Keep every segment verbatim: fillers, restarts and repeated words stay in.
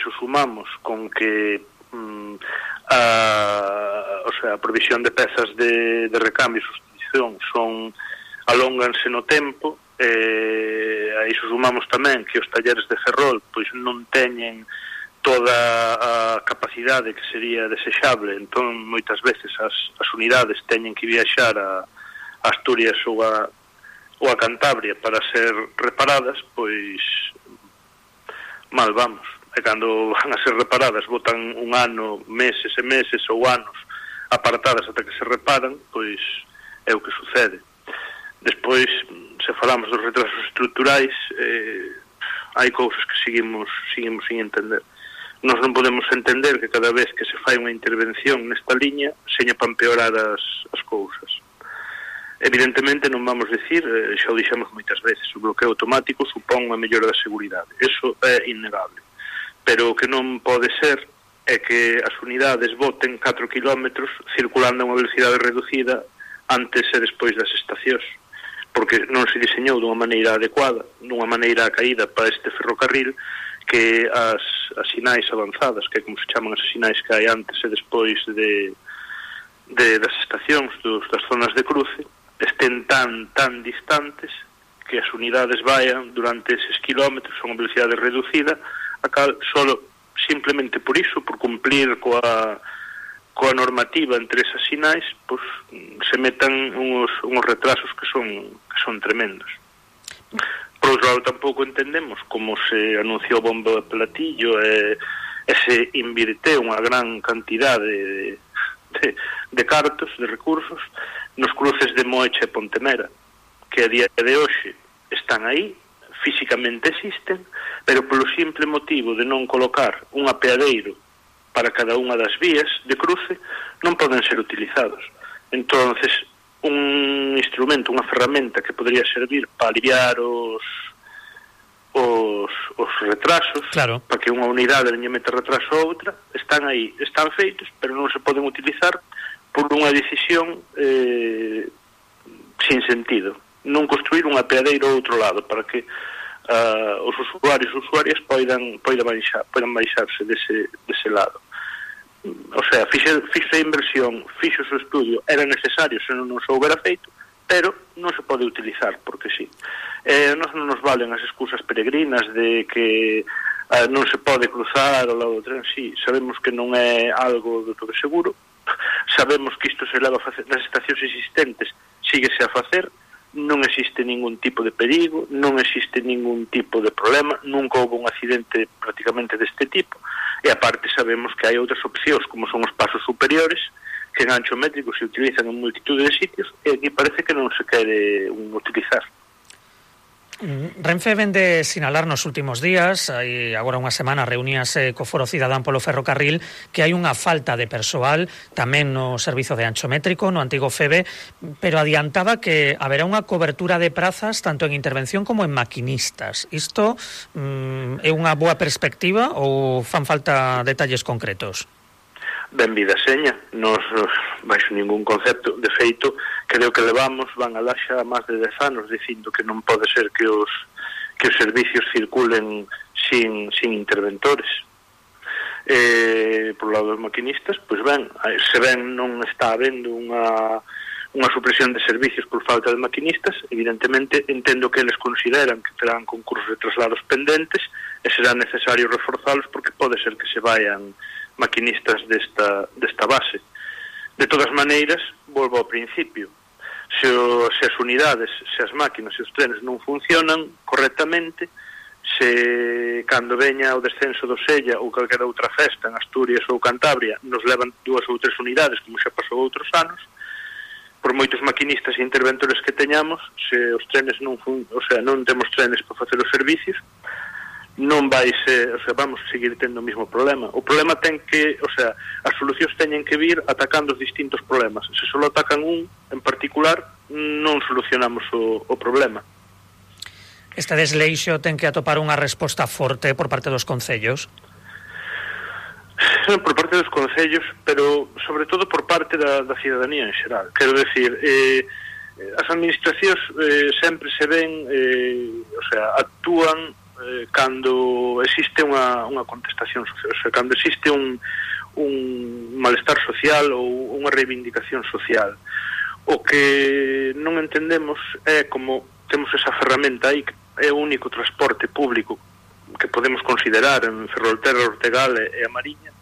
iso sumamos con que mm, a, o sea, a provisión de pezas de, de recambio e sustitución son alónganse no tempo, eh, a iso sumamos tamén que os talleres de Ferrol pois non teñen toda a capacidade que sería desexable, entón moitas veces as, as unidades teñen que viaxar a, a Asturias ou a, ou a Cantabria para ser reparadas, pois mal vamos. E cando van a ser reparadas botan un ano, meses e meses ou anos apartadas ata que se reparan, pois é o que sucede. Despois, se falamos dos retrasos estruturais, eh, hai cousas que seguimos, seguimos sin entender. Nós non podemos entender que cada vez que se fai unha intervención nesta liña seña para empeorar as, as cousas. Evidentemente non vamos decir, eh, xa o dixemos moitas veces, o bloqueo automático supón unha mellora da seguridade. Eso é innegable. Pero o que non pode ser é que as unidades boten catro kilómetros circulando a unha velocidade reducida antes e despois das estacións, porque non se diseñou dunha maneira adecuada, dunha maneira caída para este ferrocarril, que as, as sinais avanzadas, que é como se chaman as sinais que hai antes e despois de, de das estacións, dos, das zonas de cruce, estén tan, tan distantes que as unidades vayan durante eses kilómetros a unha velocidade reducida, a cal solo simplemente por iso, por cumplir coa, coa normativa entre esas sinais, pues, se metan uns, uns retrasos que son, que son tremendos. Por outro lado, tampouco entendemos como se anunciou bombo de platillo e, e se invirteu unha gran cantidade de, de, de cartos, de recursos, nos cruces de Moeche e Pontemera, que a día de hoxe están aí, físicamente existen, pero polo simple motivo de non colocar un apeadeiro para cada unha das vías de cruce, non poden ser utilizados. Entonces, un instrumento, unha ferramenta que podría servir para aliviar os os, os retrasos, claro, para que unha unidade non meta retraso a outra, están aí, están feitos, pero non se poden utilizar por unha decisión eh, sin sentido. Non construir un apeadeiro ao outro lado para que uh, os usuarios e usuarias poidan, poidan, baixar, poidan baixarse dese, dese lado. O sea, fixe, fixe a inversión, fixe o seu estudio, era necesario se non se houbera feito, pero non se pode utilizar, porque sí. Eh, non nos valen as excusas peregrinas de que eh, non se pode cruzar ao lado do tren, sí, sabemos que non é algo do todo seguro, sabemos que isto se leva a facer nas estacións existentes, síguese a facer, non existe ningún tipo de perigo, non existe ningún tipo de problema, nunca houve un accidente prácticamente deste tipo, e aparte sabemos que hai outras opcións, como son os pasos superiores, que en ancho métrico se utilizan en multitud de sitios, e aquí parece que non se quere un utilizar. Renfe vende sinalar nos últimos días, hai agora unha semana reuníase co Foro Cidadán polo Ferrocarril, que hai unha falta de persoal tamén no servizo de ancho métrico, no antigo FEBE, pero adiantaba que haberá unha cobertura de prazas tanto en intervención como en maquinistas. Isto mm, é unha boa perspectiva ou fan falta detalles concretos? Benvida seña, nos baixo ningún concepto, de feito, creo que levamos, van alá xa máis de dez anos dicindo que non pode ser que os que os servicios circulen sin, sin interventores. Eh, por lado dos maquinistas, pois ben, se ben non está habendo unha, unha supresión de servicios por falta de maquinistas, evidentemente entendo que eles consideran que terán concursos de traslados pendentes e será necesario reforzalos porque pode ser que se vayan maquinistas desta, desta base. De todas maneiras, volvo ao principio, se, o, se as unidades, se as máquinas e os trenes non funcionan correctamente, se cando veña o descenso do Sella ou calquera outra festa en Asturias ou Cantabria nos levan dúas ou tres unidades, como xa pasou outros anos, por moitos maquinistas e interventores que teñamos, se os trenes non fun, o sea, non temos trenes para facer os servicios, non vai ser, o sea, vamos seguir tendo o mesmo problema. O problema ten que, o sea, as solucións teñen que vir atacando os distintos problemas. Se só atacan un en particular, non solucionamos o, o problema. Este desleixo ten que atopar unha resposta forte por parte dos concellos? Por parte dos concellos, pero sobre todo por parte da, da cidadanía en xeral. Quero decir, eh, as administracións eh, sempre se ven, eh, o sea, actúan eh, cando existe unha, unha contestación social, o sea, cando existe un, un malestar social ou unha reivindicación social. O que non entendemos é como temos esa ferramenta aí, que é o único transporte público que podemos considerar en Ferrolterra, Ortegal e a Mariña,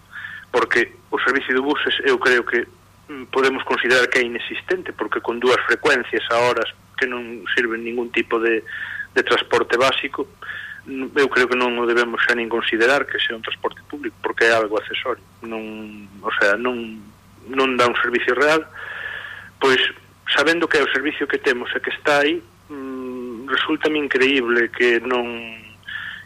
porque o servicio de buses eu creo que podemos considerar que é inexistente, porque con dúas frecuencias a horas que non sirven ningún tipo de, de transporte básico, eu creo que non o debemos xa nin considerar que sea un transporte público, porque é algo accesorio, non, o sea, non, non dá un servicio real. Pois, sabendo que é o servicio que temos e que está aí, mmm, resulta-me increíble que non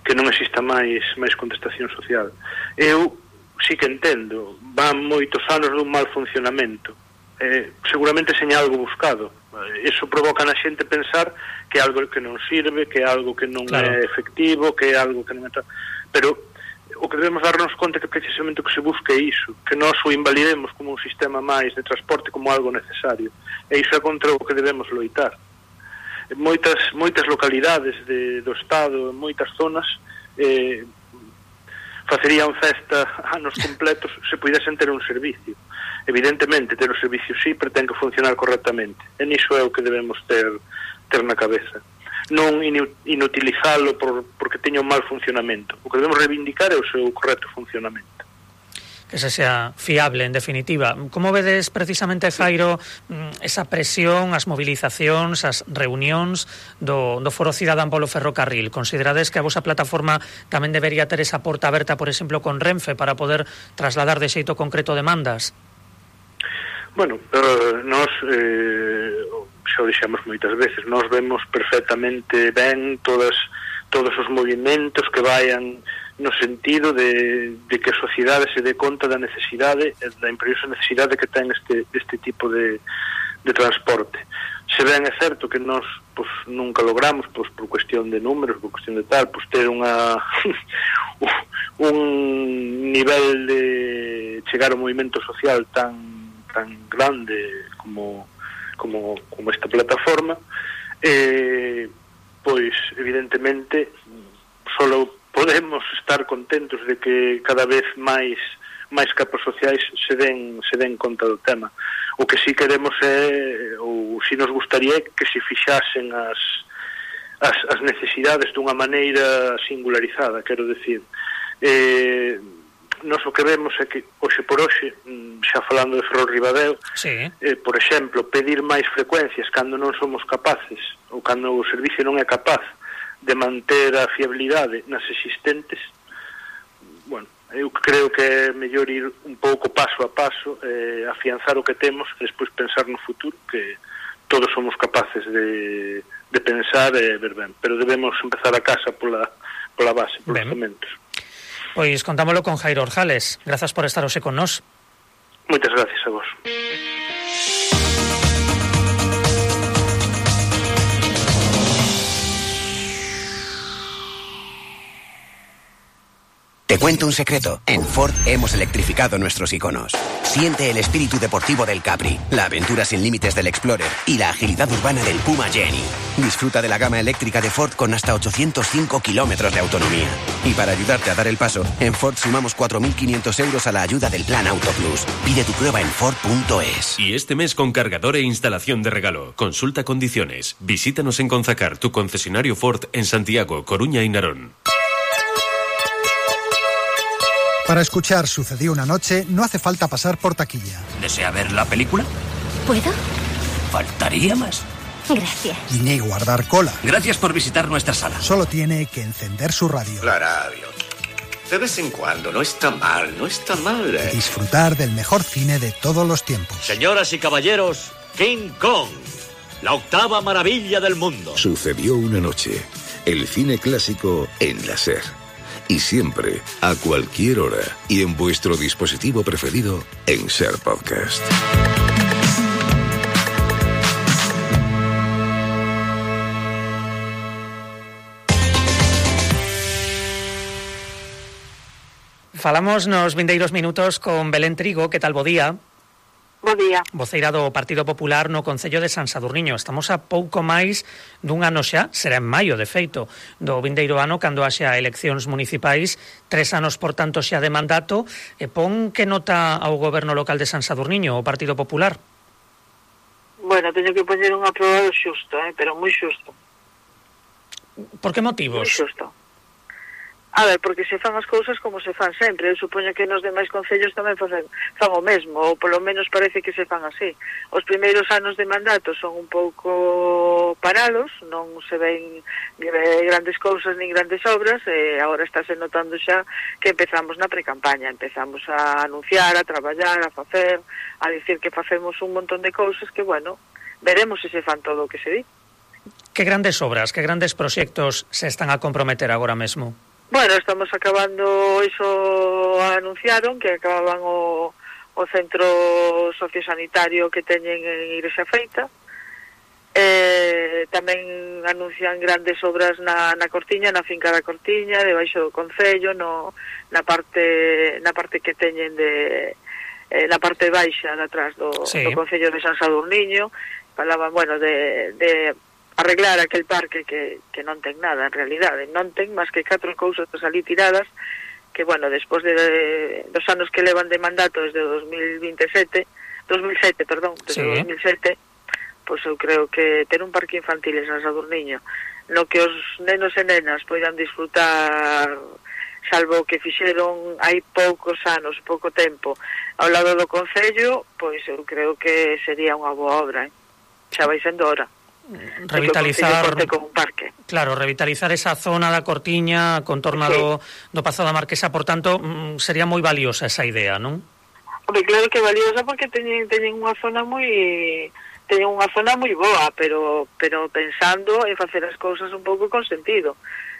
que non exista máis máis contestación social. Eu sí que entendo, van moitos anos dun mal funcionamento, eh, seguramente seña algo buscado. Eso provoca na xente pensar que é algo que non sirve, que é algo que non claro. é efectivo, que é algo que non é... Pero o que debemos darnos conta que precisamente o que se busca é iso, que nós o invalidemos como un sistema máis de transporte, como algo necesario. E iso é contra o que debemos loitar. En moitas, moitas localidades de, do Estado, en moitas zonas, eh, facerían festa anos completos se puidesen ter un servicio. Evidentemente, ter o servicio sí, pero ten que funcionar correctamente. E niso é o que debemos ter, ter na cabeza. Non inutilizalo por, porque teña un mal funcionamento. O que debemos reivindicar é o seu correcto funcionamento. Que se sea fiable, en definitiva. Como vedes precisamente, Jairo, esa presión, as movilizacións, as reunións do, do Foro Cidadán polo ferrocarril? Considerades que a vosa plataforma tamén debería ter esa porta aberta, por exemplo, con Renfe, para poder trasladar de xeito concreto demandas? Bueno, pero nós... Eh, xa o dixemos moitas veces, nós vemos perfectamente ben todas, todos os movimentos que vayan no sentido de, de que a sociedade se dé conta da necesidade, da imperiosa necesidade que ten este, este tipo de, de transporte. Se ben é certo que nós pues, nunca logramos, pues, por cuestión de números, por cuestión de tal, pues, ter unha un nivel de chegar ao movimento social tan, tan grande como como, como esta plataforma, eh, pois evidentemente solo podemos estar contentos de que cada vez máis máis capas sociais se den, se den conta do tema. O que sí queremos é, ou si nos gustaría, que se fixasen as, as, as necesidades dunha maneira singularizada, quero decir. Eh, Nos o que vemos é que, hoxe por hoxe, xa falando de Ferrol Ribadeo, sí. eh, por exemplo, pedir máis frecuencias cando non somos capaces, ou cando o servicio non é capaz de manter a fiabilidade nas existentes, bueno, eu creo que é mellor ir un pouco paso a paso, eh, afianzar o que temos, e despois pensar no futuro, que todos somos capaces de, de pensar e ver ben, pero debemos empezar a casa pola, pola base, polos cementos. Pois contámolo con Jairo Orjales. Grazas por estar hoxe con nós. Moitas gracias a vos. Te cuento un secreto. En Ford hemos electrificado nuestros iconos. Siente el espíritu deportivo del Capri, la aventura sin límites del Explorer y la agilidad urbana del Puma Jenny. Disfruta de la gama eléctrica de Ford con hasta ochocientos cinco kilómetros de autonomía. Y para ayudarte a dar el paso, en Ford sumamos cuatro mil quinientos euros a la ayuda del Plan Auto Plus. Pide tu prueba en Ford punto es. Y este mes con cargador e instalación de regalo. Consulta condiciones. Visítanos en Conzacar, tu concesionario Ford en Santiago, Coruña y Narón. Para escuchar Sucedió una noche, no hace falta pasar por taquilla. ¿Desea ver la película? ¿Puedo? Faltaría más. Gracias. Ni guardar cola. Gracias por visitar nuestra sala. Solo tiene que encender su radio. La radio. De vez en cuando, no está mal, no está mal. ¿eh? Disfrutar del mejor cine de todos los tiempos. Señoras y caballeros, King Kong, la octava maravilla del mundo. Sucedió una noche. El cine clásico en la SER. Y siempre, a cualquier hora y en vuestro dispositivo preferido en SER Podcast. Falamos nos vindeiros minutos con Belén Trigo. Que tal, bo día? Bo día. Voceira do Partido Popular no Concello de San Sadurniño. Estamos a pouco máis dun ano xa, será en maio, de feito, do vindeiro ano, cando haxa eleccións municipais, tres anos, por tanto, xa de mandato. E pon que nota ao goberno local de San Sadurniño, o Partido Popular? Bueno, teño que poñer un aprobado xusto, eh, pero moi xusto. Por que motivos? Moi xusto. A ver, porque se fan as cousas como se fan sempre. Eu supoño que nos demais concellos tamén fan, fan o mesmo, ou polo menos parece que se fan así. Os primeiros anos de mandato son un pouco parados, non se ven grandes cousas nin grandes obras, e agora estáse notando xa que empezamos na precampaña, empezamos a anunciar, a traballar, a facer, a dicir que facemos un montón de cousas que, bueno, veremos se se fan todo o que se di. Que grandes obras, que grandes proxectos se están a comprometer agora mesmo? Bueno, estamos acabando, iso anunciaron, que acababan o, o centro sociosanitario que teñen en Igrexa Feita. Eh, tamén anuncian grandes obras na, na Cortiña, na finca da Cortiña, debaixo do Concello, no, na parte na parte que teñen de eh, na parte baixa de atrás do, sí. do Concello de San Sadurniño. Falaban, bueno, de... de arreglar aquel parque que, que non ten nada en realidade, non ten máis que catro cousas ali tiradas que, bueno, despois de, de dos anos que levan de mandato desde dos mil veintisiete, dos mil sete, perdón, desde sí. dos mil sete, pois eu creo que ter un parque infantil en San Sadurniño no que os nenos e nenas poidan disfrutar, salvo que fixeron hai poucos anos, pouco tempo ao lado do Concello, pois eu creo que sería unha boa obra, eh? Xa vai sendo hora. Revitalizar con un parque. Claro, revitalizar esa zona da Cortiña, contorna sí. do, do Pazo da Marquesa, por tanto, sería moi valiosa esa idea, non? Hombre, claro que valiosa porque teñen, teñen unha zona moi teñen unha zona moi boa, pero pero pensando en facer as cousas un pouco con sentido.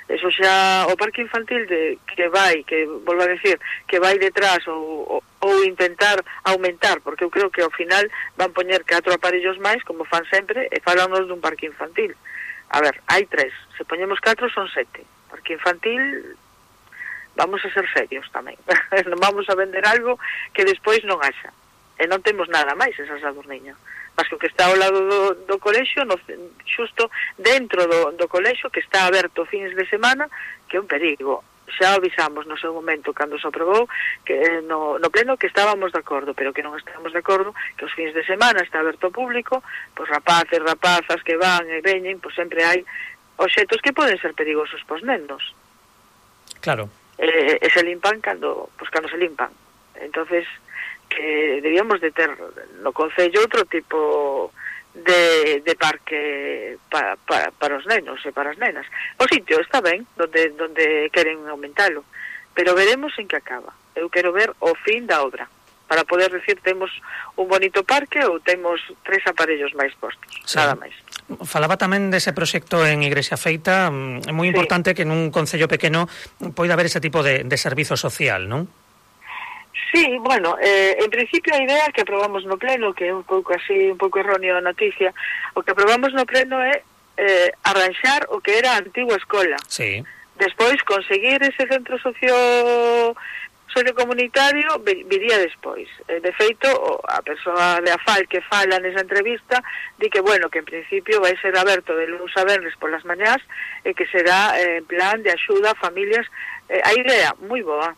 Eso xa, o parque infantil de, que vai, que volvo a decir, que vai detrás ou, ou, ou intentar aumentar, porque eu creo que ao final van poñer catro aparellos máis, como fan sempre, e falanos dun parque infantil. A ver, hai tres, se poñemos catro son sete. Parque infantil, vamos a ser serios tamén. Non vamos a vender algo que despois non haxa. E non temos nada máis en San Sadurniño. Mas que o que está ao lado do, do colexio, no, xusto dentro do, do colexio, que está aberto fins de semana, que é un perigo. Xa avisamos no seu momento, cando se aprobou, que no, no pleno que estábamos de acordo, pero que non estamos de acordo, que os fins de semana está aberto ao público, pois rapaces, rapazas que van e veñen, pois sempre hai obxetos que poden ser perigosos pos nenos. Claro. E, e se limpan cando, pois cando se limpan. Entonces, que debíamos de ter no Concello outro tipo de, de parque para, para, para os nenos e para as nenas. O sitio está ben, donde, donde queren aumentalo, pero veremos en que acaba. Eu quero ver o fin da obra, para poder decir temos un bonito parque ou temos tres aparellos máis postos, sí. Nada máis. Falaba tamén dese proxecto en Igrexa Feita. É moi importante sí. que nun concello pequeno poida haber ese tipo de, de servizo social, non? Sí, bueno, eh, en principio a idea que aprobamos no pleno, que é un pouco así, un pouco erróneo a noticia, o que aprobamos no pleno é eh, arranxar o que era a antigua escola. Sí. Despois, conseguir ese centro socio sociocomunitario viría despois. Eh, de feito, a persoa de Afal que fala nesa entrevista di que, bueno, que en principio vai ser aberto de luns a venres polas mañás e que será eh, en plan de axuda a familias. Eh, a idea, moi boa.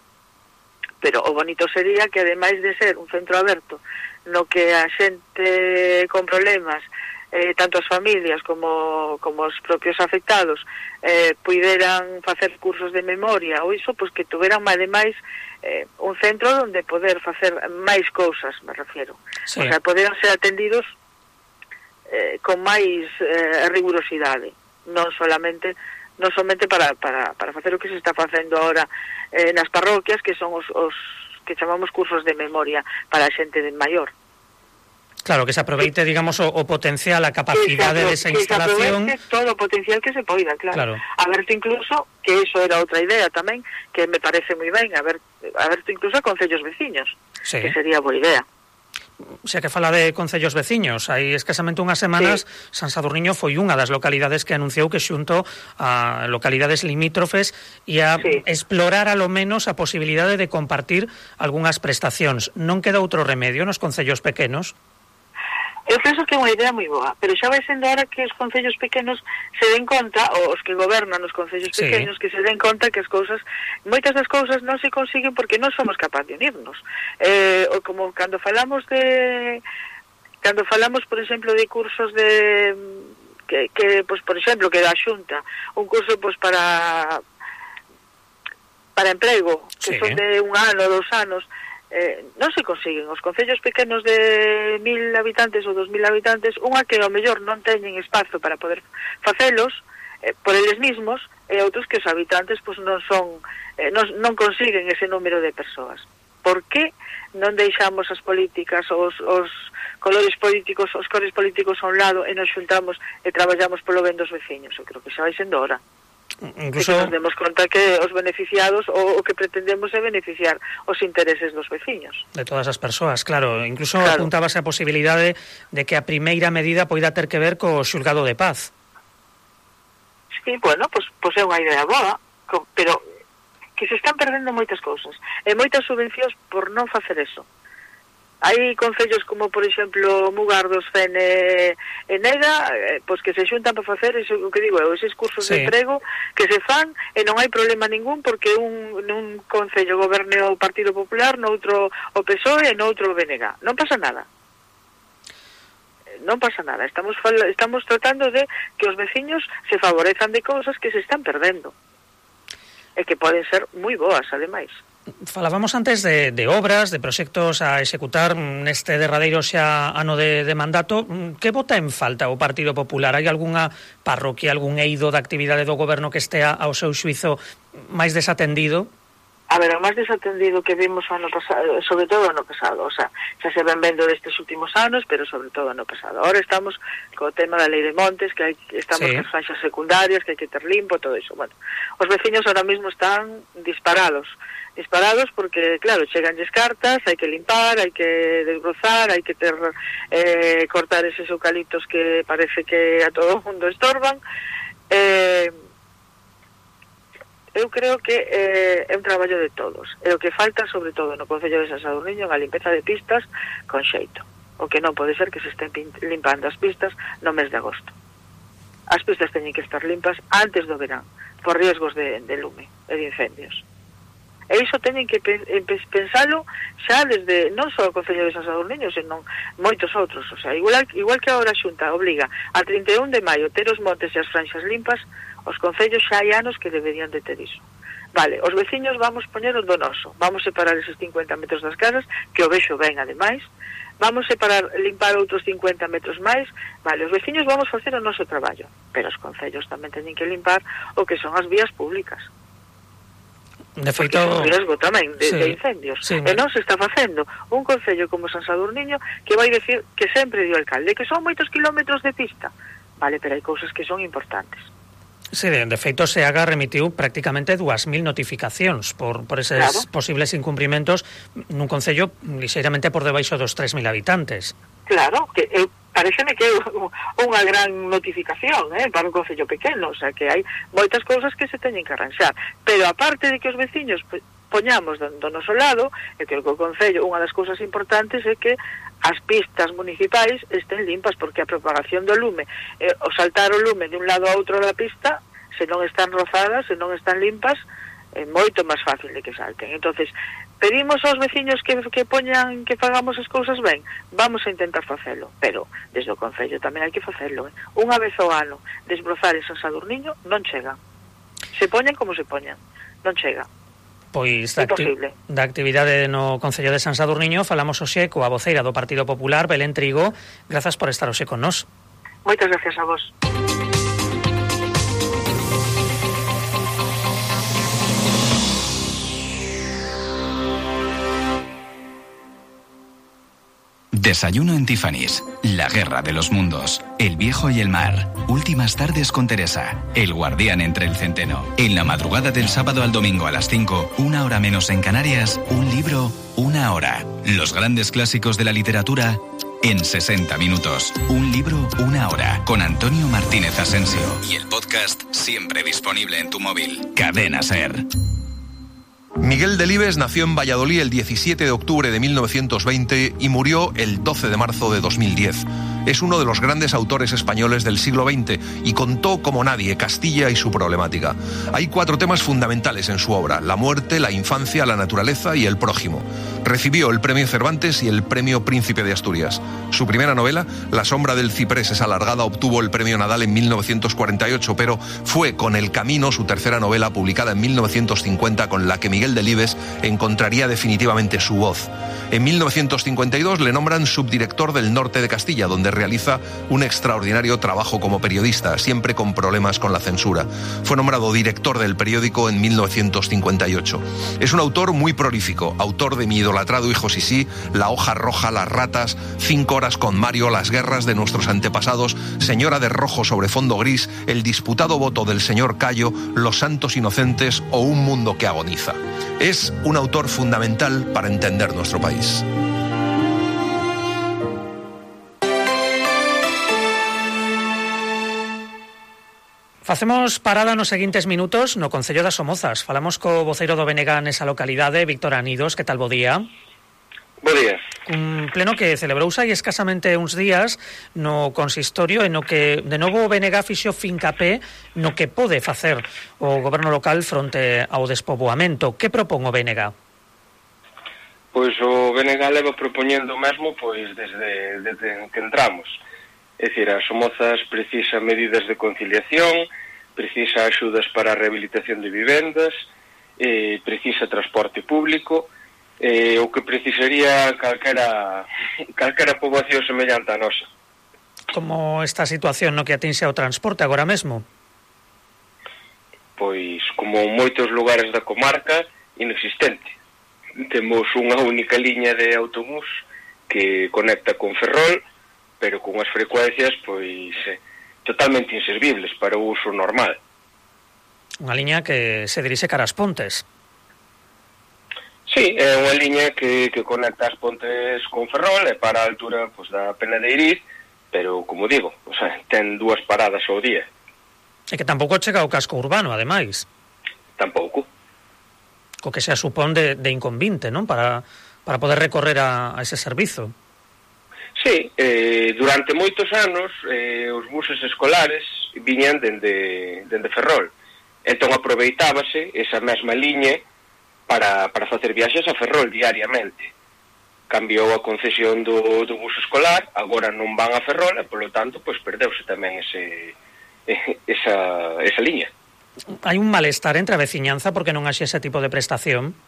Pero o bonito sería que, ademais de ser un centro aberto no que a xente con problemas, eh, tanto as familias como, como os propios afectados, eh, puideran facer cursos de memoria ou iso, pois que tuveran ademais eh, un centro onde poder facer máis cousas, me refiero. Sí. O sea, poderan ser atendidos eh, con máis eh, rigurosidade, non solamente non somente para, para, para facer o que se está facendo ahora eh, nas parroquias, que son os, os que chamamos cursos de memoria para a xente de maior. Claro, que se aproveite, digamos, o, o potencial, a capacidade de esa instalación. Que se aproveite todo o potencial que se poida, claro. claro. A verte incluso, que eso era outra idea tamén, que me parece moi ben, a ver, a verte incluso a concellos veciños, sí. Que sería boa idea. Xa que fala de concellos veciños, hai escasamente unhas semanas sí. San Sadurniño foi unha das localidades que anunciou que xunto a localidades limítrofes ia sí. explorar a lo menos a posibilidade de compartir algunhas prestacións. Non queda outro remedio nos concellos pequenos? Eu penso que é unha idea moi boa, pero xa vai sendo hora que os concellos pequenos se den conta, ou os que gobernan os concellos sí. pequenos, que se den conta que as cousas, moitas das cousas non se consiguen porque non somos capaces de unirnos. Eh, ou como cando falamos de... Cando falamos, por exemplo, de cursos de... Que, que pues, por exemplo, que da Xunta, un curso pues, para... para emprego, que sí. son de un ano, dous anos... Eh, non se consiguen. Os concellos pequenos de mil habitantes ou dos mil habitantes, unha que ao mellor non teñen espazo para poder facelos eh, por eles mismos, e outros que os habitantes pues, non son eh, non, non consiguen ese número de persoas. Por que non deixamos as políticas, os, os colores políticos, os cores políticos a un lado e nos xuntamos e traballamos polo ben dos veciños? Eu creo que xa vai sendo hora. Incluso que nos demos conta que os beneficiados o, o que pretendemos é beneficiar os intereses dos veciños. De todas as persoas, claro. Incluso claro. apuntábase a posibilidade de que a primeira medida poida ter que ver co xulgado de paz. Sí, bueno, pues, pues é unha idea boa, pero que se están perdendo moitas cousas. E moitas subvencións por non facer eso. Hai concellos como, por exemplo, Mugardos, Fene e Nega, eh, pois que se xuntan para facer eso, o que digo eu, eses cursos sí. de emprego que se fan e non hai problema ningún porque un, un concello goberne o Partido Popular, noutro o P S O E e noutro o B N G. Non pasa nada. Non pasa nada. Estamos, estamos tratando de que os veciños se favorezan de cousas que se están perdendo e que poden ser moi boas, ademais. Falábamos antes de, de obras, de proxectos a executar neste derradeiro xa ano de, de mandato. Que bota en falta o Partido Popular? Hai algunha parroquia, algún eido da actividade do goberno que estea ao seu xuizo máis desatendido? A ver, o máis desatendido que vimos ano pasado, sobre todo ano pasado, o sea, xa se ven vendo destes últimos anos, pero sobre todo ano pasado. Ahora estamos co tema da lei de montes, que hai, estamos sí. con franxas secundarias, que hai que ter limpo, todo iso. Bueno, os veciños ahora mismo están disparados. disparados porque, claro, cheganlles cartas, hai que limpar, hai que desbrozar, hai que ter eh, cortar eses eucaliptos que parece que a todo o mundo estorban. Eh, eu creo que eh, é un traballo de todos. E o que falta, sobre todo, no Concello de San Sadurniño, é a limpeza de pistas con xeito. O que non pode ser que se estén limpando as pistas no mes de agosto. As pistas teñen que estar limpas antes do verán, por riesgos de, de lume e de incendios. E iso teñen que pensalo xa desde, non só o Concello de San Sadurniño, senón moitos outros. O sea, igual, igual que agora a Xunta obliga a trinta e un de maio ter os montes e as franxas limpas, os concellos xa hai anos que deberían de ter iso. Vale, os veciños vamos poñer o donoso, vamos separar eses cincuenta metros das casas, que o vexo ben ademais, vamos separar, limpar outros cincuenta metros máis, vale, os veciños vamos facer o noso traballo, pero os concellos tamén teñen que limpar o que son as vías públicas. De feito, porque é un riesgo tamén de, sí, de incendios sí, e non se está facendo. Un concello como San Sadurniño que vai decir que sempre dio alcalde que son moitos kilómetros de pista, vale, pero hai cousas que son importantes. Sí, de, de feito se haga remitiu prácticamente dúas mil notificacións por, por eses claro. posibles incumprimentos nun concello lixeiramente por debaixo dos tres mil habitantes. Claro, que eu pareceme que é unha gran notificación eh, para un concello pequeno, o sea que hai moitas cousas que se teñen que arranxar, pero aparte de que os veciños poñamos do, do noso lado, e que o concello, unha das cousas importantes é que as pistas municipais estén limpas, porque a propagación do lume, eh, o saltar o lume de un lado a outro da pista, se non están rozadas, se non están limpas, é moito máis fácil de que salten. Entonces, pedimos aos veciños que, que poñan, que fagamos as cousas ben, vamos a intentar facelo, pero desde o concello tamén hai que facelo, eh? Unha vez ao ano, desbrozar en San Sadurniño non chega. Se poñan como se poñan, non chega. Pois da, acti da actividade no Concello de San Sadurniño falamos hoxe coa voceira do Partido Popular, Belén Trigo. Grazas por estar hoxe con nós. Moitas gracias a vos. Desayuno en Tiffany's. La guerra de los mundos. El viejo y el mar. Últimas tardes con Teresa. El guardián entre el centeno. En la madrugada del sábado al domingo a las cinco, una hora menos en Canarias, un libro, una hora. Los grandes clásicos de la literatura en sesenta minutos. Un libro, una hora. Con Antonio Martínez Asensio. Y el podcast siempre disponible en tu móvil. Cadena SER. Miguel Delibes nació en Valladolid el diecisiete de octubre de mil novecientos veinte y murió el doce de marzo de dos mil diez. Es uno de los grandes autores españoles del siglo veinte y contó como nadie Castilla y su problemática. Hay cuatro temas fundamentales en su obra: la muerte, la infancia, la naturaleza y el prójimo. Recibió el premio Cervantes y el premio Príncipe de Asturias. Su primera novela, La sombra del ciprés es alargada, obtuvo el premio Nadal en mil novecientos cuarenta y ocho, pero fue Con el camino, su tercera novela, publicada en mil novecientos cincuenta, con la que Miguel Delibes encontraría definitivamente su voz. En mil novecientos cincuenta y dos le nombran subdirector del Norte de Castilla, donde realiza un extraordinario trabajo como periodista, siempre con problemas con la censura. Fue nombrado director del periódico en mil novecientos cincuenta y ocho. Es un autor muy prolífico, autor de Mi idolatrado hijo Sisí, La hoja roja, Las ratas, Cinco horas con Mario, Las guerras de nuestros antepasados, Señora de rojo sobre fondo gris, El disputado voto del señor Cayo, Los santos inocentes o Un mundo que agoniza. Es un autor fundamental para entender nuestro país. Facemos parada nos seguintes minutos no Concello das Somozas. Falamos co voceiro do B N G nesa localidade, Víctor Anidos. Que tal, bo día? Bo día. Un pleno que celebrouse hai escasamente uns días no consistorio e no que de novo o B N G fixo fincapé no que pode facer o goberno local fronte ao despoboamento. Que propón o B N G? Pois o B N G leva propoñendo mesmo pois desde, desde que entramos. É dicir, as Somozas precisa medidas de conciliación, precisa axudas para a rehabilitación de vivendas, eh, precisa transporte público, eh, o que precisaría calquera, calquera poboación semellante a nosa. Como esta situación no que atinxe ao transporte agora mesmo? Pois, como en moitos lugares da comarca, inexistente. Temos unha única liña de autobús que conecta con Ferrol, pero con as frecuencias pois eh, totalmente inservibles para o uso normal. Unha liña que se dirixe cara ás Pontes. Sí, é unha liña que, que conecta as Pontes con Ferrol e para a altura pois, da Pena de Iriz, pero, como digo, o sea, ten dúas paradas ao día. E que tampouco chega ao casco urbano, ademais. Tampouco. Co que xa supón de, de inconvinte, non? Para, para poder recorrer a, a ese servizo. Sí, eh, durante moitos anos eh, os buses escolares viñan dende, dende Ferrol. Entón aproveitábase esa mesma liña para, para facer viaxes a Ferrol diariamente. Cambiou a concesión do, do bus escolar, agora non van a Ferrol e, polo tanto, pois perdeuse tamén ese, esa, esa liña. Hai un malestar entre a veciñanza porque non haxe ese tipo de prestación?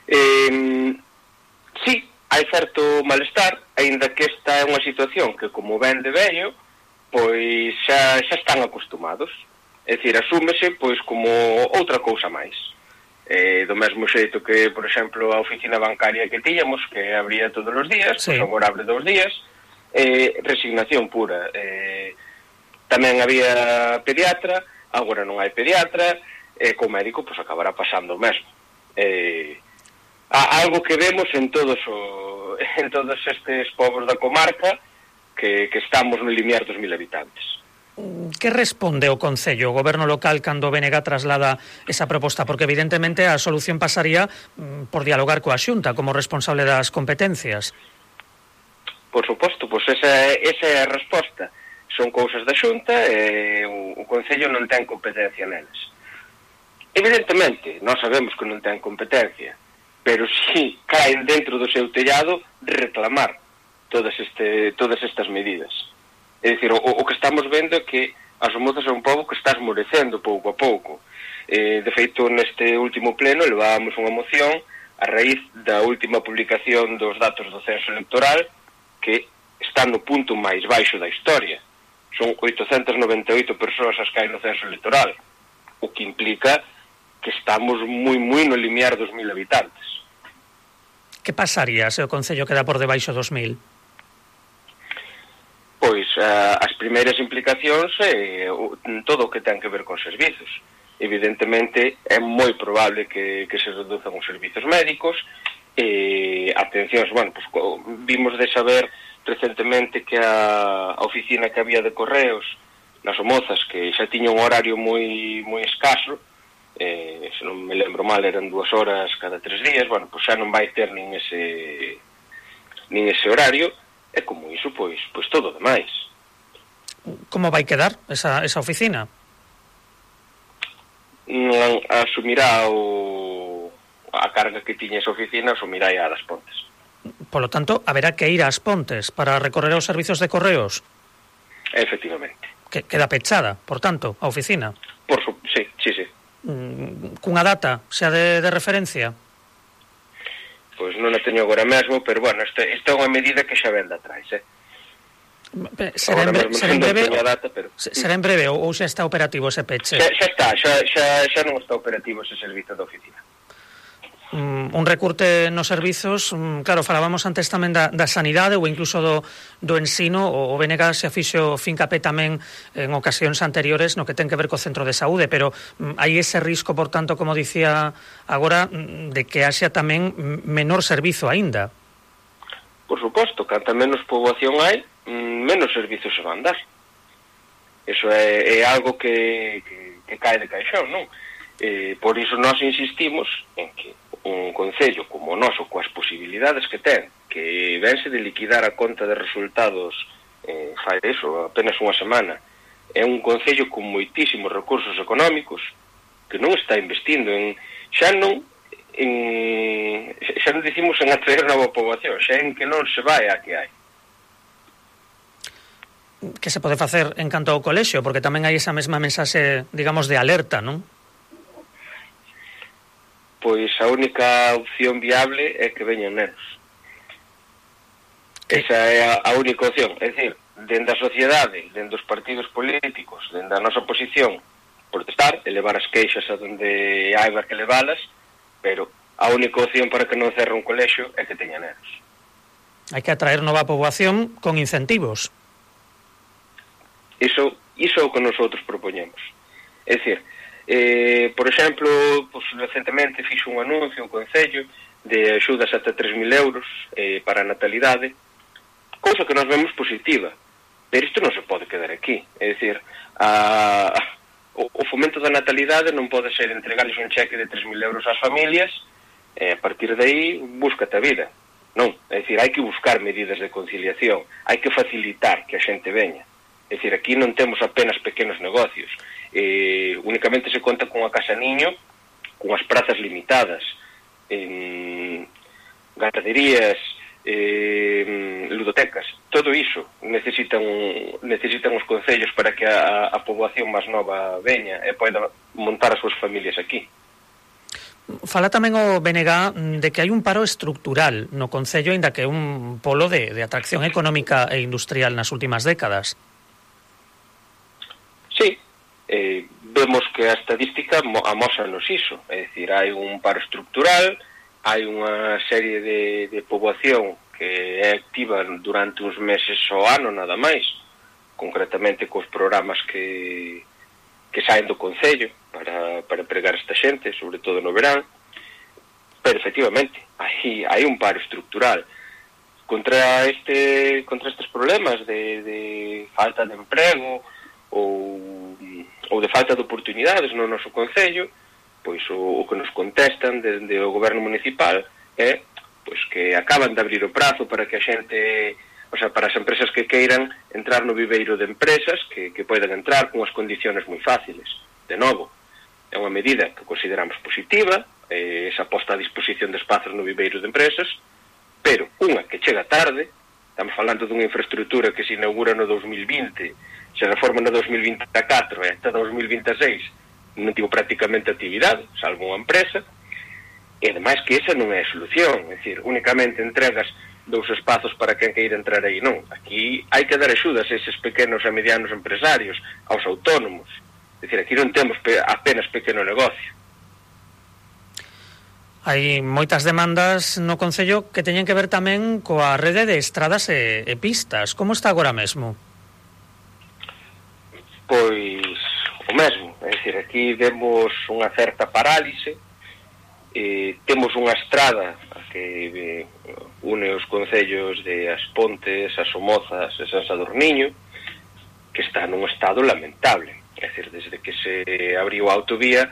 Eh, sí, hai certo malestar, aínda que esta é unha situación que, como ben de vello, pois xa, xa están acostumados. É dicir, asúmese pois como outra cousa máis. Eh, do mesmo xeito que, por exemplo, a oficina bancaria que tiñamos, que abría todos os días, sí. Pois agora abre dos días, eh, resignación pura. Eh, tamén había pediatra, agora non hai pediatra, e eh, co médico pois acabará pasando o mesmo. Eh, algo que vemos en todos o, en todos estes povos da comarca que, que estamos no limiar dos mil habitantes. Que responde o Concello, o goberno local, cando o B N G traslada esa proposta? Porque evidentemente a solución pasaría por dialogar coa Xunta como responsable das competencias. Por suposto, pois esa, esa é a resposta. Son cousas da Xunta e o, o Concello non ten competencia neles. Evidentemente, nós sabemos que non ten competencia, pero si caen dentro do seu tellado reclamar todas, este, todas estas medidas. É dicir, o, o que estamos vendo é que as Somozas é un pobo que está esmorecendo pouco a pouco. Eh, de feito, neste último pleno levábamos unha moción a raíz da última publicación dos datos do censo electoral, que está no punto máis baixo da historia. Son oitocentas noventa e oito persoas as que hai no censo electoral, o que implica que estamos moi, moi no limiar dos mil habitantes. Que pasaría se o Concello queda por debaixo dos mil? Pois uh, as primeiras implicacións é uh, todo o que ten que ver con servizos. Evidentemente é moi probable que, que se reduzan os servizos médicos e atencións, bueno, pues, vimos de saber recentemente que a, a oficina que había de correos nas Somozas, que xa tiña un horario moi moi escaso, eh, se non me lembro mal eran dúas horas cada tres días, bueno, pues xa non vai ter nin ese nin ese horario, e como iso, pois, pois todo demais. Como vai quedar esa, esa oficina? Non asumirá o, a carga que tiña esa oficina, asumirá a das Pontes. Por lo tanto, haberá que ir ás Pontes para recorrer os servizos de correos? Efectivamente. Que queda pechada, por tanto, a oficina? Por su... sí, sí, sí. Mm, cunha data, xa de, de referencia? Pois non a teño agora mesmo, pero, bueno, isto é unha medida que xa ven de atrás, eh? Será en, bre será en breve, data, pero... será en breve ou xa está operativo ese peche? Xa, xa está, xa, xa, xa non está operativo ese servizo de oficina. Mm, un recurte nos servizos, mm, claro, falábamos antes tamén da, da sanidade ou incluso do, do ensino, o, o B N G se afixo fincapé tamén en ocasións anteriores no que ten que ver co centro de saúde, pero mm, hai ese risco, por tanto, como dicía agora, mm, de que haxa tamén menor servizo aínda. Por suposto, canta menos poboación hai, mm, menos servizos se van dar. Eso é, é algo que, que, que cae de caixón, non? Eh, por iso nós insistimos en que un concello como o noso, coas posibilidades que ten, que vense de liquidar a conta de resultados eh, fai eso, apenas unha semana, é un concello con moitísimos recursos económicos que non está investindo en, xa non en, xa non dicimos en atraer nova poboación, xa en que non se vai a que hai. Que se pode facer en canto ao colexio, porque tamén hai esa mesma mensaxe, digamos, de alerta, non? Pois a única opción viable é que veñan nenos. Esa é a, a única opción. É dicir, dende a sociedade, dende os partidos políticos, dende a nosa posición, protestar, elevar as queixas a donde haiba que levalas, pero a única opción para que non cerre un colexio é que teña nenos. Hai que atraer nova poboación con incentivos. Iso, iso é o que nosotros propoñemos. É dicir, Eh, por exemplo, pues, recentemente fixo un anuncio, un concello de axudas ata tres mil euros eh, para a natalidade, cousa que nos vemos positiva, pero isto non se pode quedar aquí. É dicir, a, o, o fomento da natalidade non pode ser entregarles un cheque de tres mil euros ás familias e eh, a partir de aí búscate a vida. Non, é dicir, hai que buscar medidas de conciliación, hai que facilitar que a xente veña. É dicir, aquí non temos apenas pequenos negocios, eh, únicamente se conta con a casa niño, con as prazas limitadas, en ganaderías, eh, ludotecas, todo iso necesitan, necesitan os concellos para que a, a poboación máis nova veña e poida montar as súas familias aquí. Fala tamén o B N G de que hai un paro estructural no concello, aínda que é un polo de, de atracción económica e industrial nas últimas décadas. Sí, eh, vemos que a estadística amósanos iso, é dicir, hai un paro estructural, hai unha serie de, de poboación que é activa durante uns meses ao ano nada máis, concretamente cos programas que, que saen do concello para, para empregar esta xente, sobre todo no verán, pero efectivamente hai, hai un paro estructural contra este contra estes problemas de, de falta de emprego ou, ou de falta de oportunidades no noso concello, pois o, o que nos contestan dende o goberno municipal é pois que acaban de abrir o prazo para que a xente, o sea, para as empresas que queiran entrar no viveiro de empresas, que, que poidan entrar con as condiciones moi fáciles. De novo, é unha medida que consideramos positiva, eh, esa posta a disposición de espazos no viveiro de empresas, pero unha que chega tarde, estamos falando dunha infraestructura que se inaugura no dos mil vinte, se reforma no dos mil vinte e catro e até dos mil vinte e seis non tivo prácticamente actividade, salvo unha empresa, e ademais que esa non é a solución, é dicir, únicamente entregas dous espazos para quen queira entrar aí, non. Aquí hai que dar axudas a eses pequenos e medianos empresarios, aos autónomos, é dicir, aquí non temos pe apenas pequeno negocio. Hai moitas demandas no Concello que teñen que ver tamén coa rede de estradas e, e pistas. Como está agora mesmo? Pois o mesmo, é dicir, aquí vemos unha certa parálise, eh, temos unha estrada que eh, une os concellos de As Pontes, As Somozas e San Sadurniño, que está nun estado lamentable. É dicir, desde que se abriu a autovía,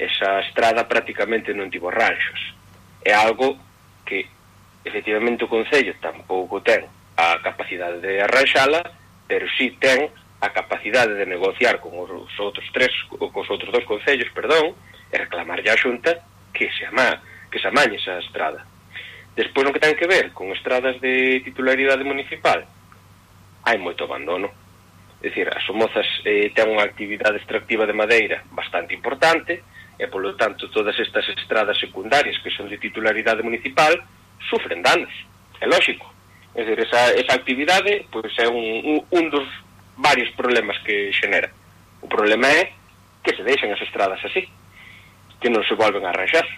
esa estrada prácticamente non tivo ranxos. É algo que, efectivamente, o Concello tampouco ten a capacidade de arranxala, pero sí ten a capacidade de negociar con os outros tres, con os outros dos concellos, perdón, e reclamarlle á Xunta que se ama, que se amañe esa estrada. Despois, no que ten que ver con estradas de titularidade municipal, hai moito abandono. É dicir, as Somozas eh, ten unha actividade extractiva de madeira bastante importante, e, polo tanto, todas estas estradas secundarias que son de titularidade municipal sufren danos, é lógico. É dicir, esa, esa actividade pois, é un, un, un dos varios problemas que xenera. O problema é que se deixan as estradas así, que non se volven a arranxar.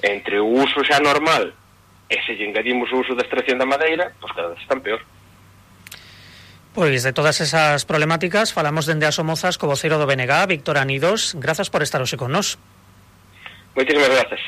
Entre o uso xa normal e se lle engadimos o uso da extracción da madeira, pois cada vez están peor. Pois de todas esas problemáticas falamos dende As Somozas co voceiro do B N G, Víctor Anidos. Grazas por estar hoxe con nós. Moitísimas grazas.